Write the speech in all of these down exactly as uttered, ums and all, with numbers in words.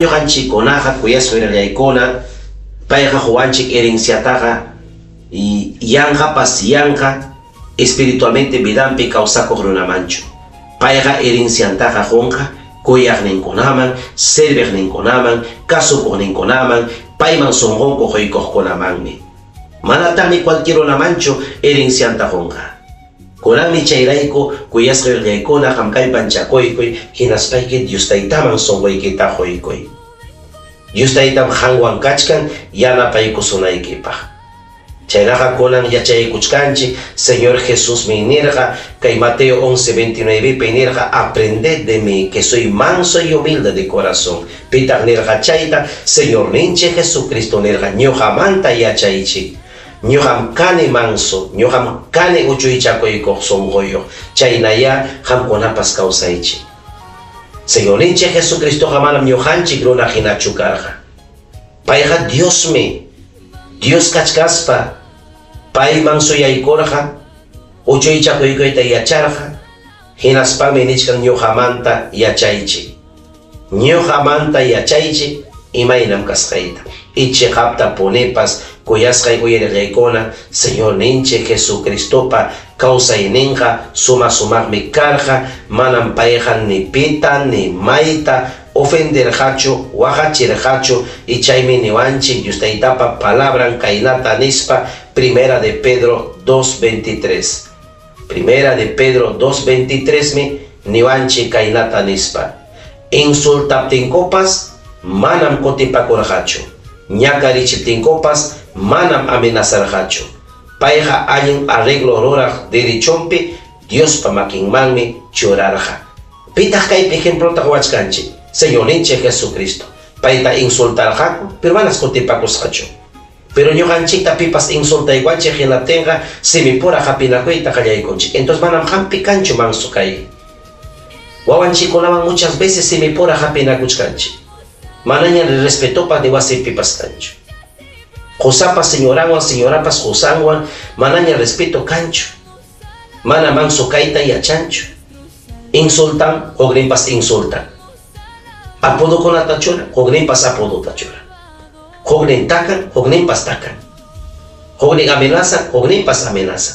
Ñuqanchikkunaqa kuyasqa wirallaykuna payqa quwanchik herenciataqa y yanqapas yanqa espiritualmente vidanpi kawsakuq runamanchu. Payqa herenciantaqa qunqa kuyaqninkunaman, serviqninkunaman, kasukuqninkunaman, payman sunqunku quykuqkunamanmi. Manataqmi cualquier runamanchu herencianta qunqa. Kunanmi chayrayku kuyasqa wirallaykuna qam kallpanchakuykuy hinaspayki Dios Taytaman sunquykita quykuy. Dios Taytam qanwan kachkan yanapaykusunaykipaq. Chaynaqa kunan yachaykuchkanchik Señor Jesusmi nirqa kay Mateo once veintinueve pi nirqa aprended de mí que soy manso y humilde de corazón. Pitaq nirqa chayta Señorninchik Jesucristo nirqa ñuqamanta yachaychik. Ñuqam kani manso, ñuqam kani uchuychakuykuq sunquyuq. Chaynaya qamkunapas kawsaychik. Señorninchik Jesucristoqa manam ñuqanchik runa hinachu karqa. Payqa Diosmi. Dios kachkaspa payman suyaykurqa, uchuychakuykuyta yacharqa, hinaspami nichkan ñuqamanta yachaychik. Ñuqamanta yachaychik imaynam kasqayta. Ichiqapta punipas kuyasqay uyarillaykuna Señorninchik Jesucristopa kawsayninqa suma sumaqmi karqa, manam payqa ni pita ni mayta ofenderqachu, waqachirqachu, y chaymi niwanchik Dios Taytapa palabran kaynata nispa Primera de Pedro dos veintitrés. Primera de Pedro dos veintitrés mi niwanchik kaynata nispa. Insultaptinkupas manam kutipakurqachu. Ñakarichiptinkupas manam amenazarqachu. Payqa allin arreglo ruraq derechonpi Diospa makinmanmi churarqa. Pitaq kaypi ejemplota quwachkanchik? Señorninchik Jesucristo. Payta insultarqaku, pero manas kutipakusqachu. Pero ñuqanchikta pipas insultaywanchik hinaptinqa simipura hapinakuyta qallaykunchik. Entonces manam hampi kanchu manso kay. Wawanchikkunawan muchas veces simipura hapinakuchkanchik. Manaña respetopas ni wasipipas kanchu. Qosapas señoranwan, señorapas qosanwan, manaña respeto kanchu. Mana manso kayta yachanchu. Insultan, hukninpas insultan. Apodokunata churan, hukninpas apodota churan. Huknin takan, hukninpas takan. Huknin amenaza, hukninpas amenaza.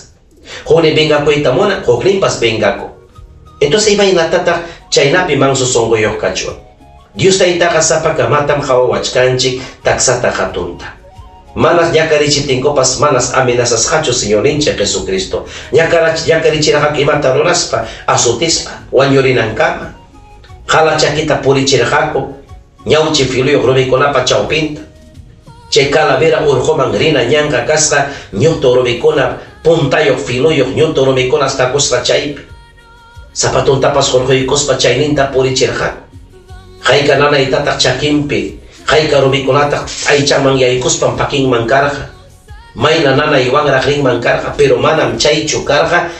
Huknin vengakuyta munan, hukninpas vengaku. Entonces imaynatataq chaynapi manso sunquyuq kachwan. Dios Taytaqa sapakamatam qhawawachkanchik taksata hatunta. Manas ñakarichiptinkupas manas amenazasqachu Señorninchik Jesucristo. Ñakarichirqaku imata ruraspa, azotispa, wañurinankama. Qhala chakita purichirqaku, ñawchi filuyuq rumikunapa chawpinta. Chay calavera urquman rina ñanqa kasqa ñutu rumikuna puntayuq filuyuq ñutu rumikuna takusqa chaypi. Zapatuntapas hurquykuspa chayninta purichirqaku. Hayka nanaytataq chakinpi, hayka rumikunataq aychaman yaykuspan pakinman karqa. Mayna nanaywanraq rinman karqa, pero manam chaychu karqa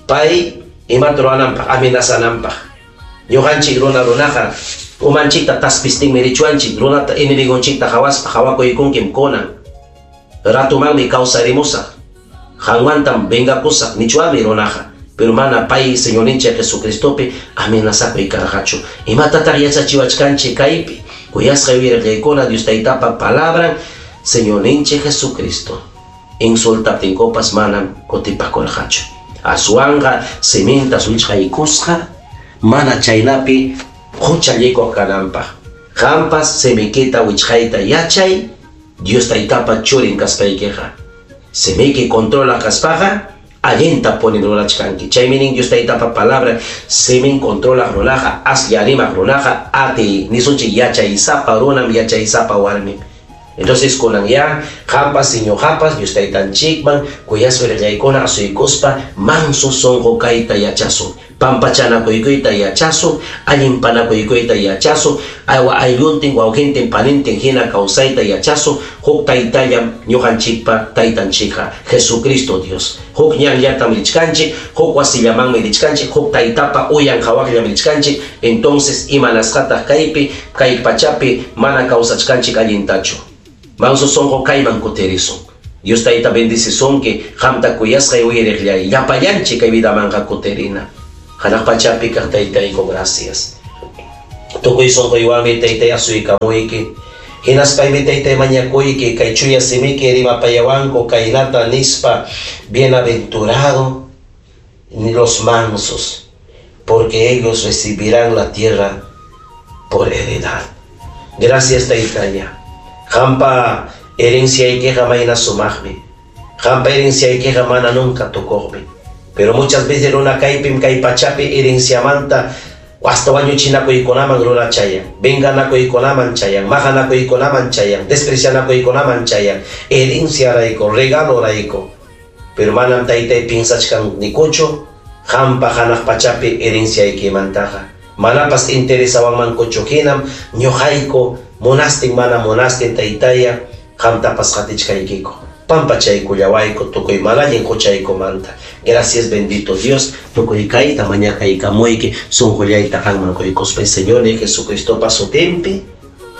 pay imata ruwananpaq, amenazananpaq. Ñuqanchik runa runaqa umanchikta taspistinmi richuanchik, runata enemigonchikta qhawaspa qhawakuykunkim kunan. Ratumanmi kawsarimusaq, qanwantam vengakusaq nichuanmi runaqa. Pero mana pay Señorninchik Jesucristopi amenazakuy karqachu. Imatataq yachachiwachkanchik kaypi? Kuyasqay wirallaykuna Dios Taytapa palabran Señorninchik Jesucristo. Insultaptinkupas manam kutipakurqachu. Aswanqa siminta wichqaykusqa mana chaynapi huchallikuq kananpaq. Qampas simikita wichqayta yachay Dios Taytapa churin kaspaykiqa. Simiki controla kaspaqa allinta puni rurachkanki. Chaymi nin Dios Taytapa palabra simin controla runaqa, aslla rimaq runaqa, ati nisunchik yachaysapa runam, yachaysapa warmim. Entonces kunan ya qampas ñuqapas Dios Taytanchikman kuyasqa willaykuna asuykuspa manso sunqu kayta yachasun, pampachanakuykuyta yachasun, allinpanakuykuyta yachasun, aywa aylluntin wawqintin panintin hina kawsayta yachasun. Huk taytallam ñuqanchikpa taytanchikqa Jesucristo Dios. Huk ñanllatam richkanchik, huk wasillamanmi richkanchik, huk taytapa uyan qhawaqllam richkanchik. Entonces imanasqataq kaypi kay pachapi mana kawsachkanchik allintachu. Manso sunqu kayman kutirisun. Dios Tayta bendicisunki, qamta kuyasqay uyariqllay, llapallanchik kay vidamanqa kutirina. Hanaq pachapi kaq Taytayku, gracias. Tukuy sunquywanmi taytay asuykamuyki. Hinaspaymi taytay mañakuyki kay chuya simiki rimapayawanku kaynata nispa, bienaventurado los mansos, porque ellos recibirán la tierra por heredad. Gracias taytaya. Qampa herenciaykiqa mayna sumaqmi. Qampa herenciaykiqa mana nunca tukuqmi. Pero muchas veces runa kaypim kay pachapi herenciamanta hasta wañuchinakuykunaman runa chayan, venganakuykunaman chayan, maqanakuykunaman chayan, desprecianakuykunaman chayan, herenciarayku, regalorayku. Pero manam taytay piensachkanikuchu qampa hanaq pachapi herenciaykimantaqa. Manapas interesawanmankuchu hinam ñuqayku munastin mana munastin taytaya qamtapas qatichkaykiku. Pampachaykullawayku tukuy mana allin huchaykumanta. Gracias bendito Dios, tukuy kayta mañakaykamuyki sunqullayta qanman quykuspay Señor Jesucristopa sutinpi.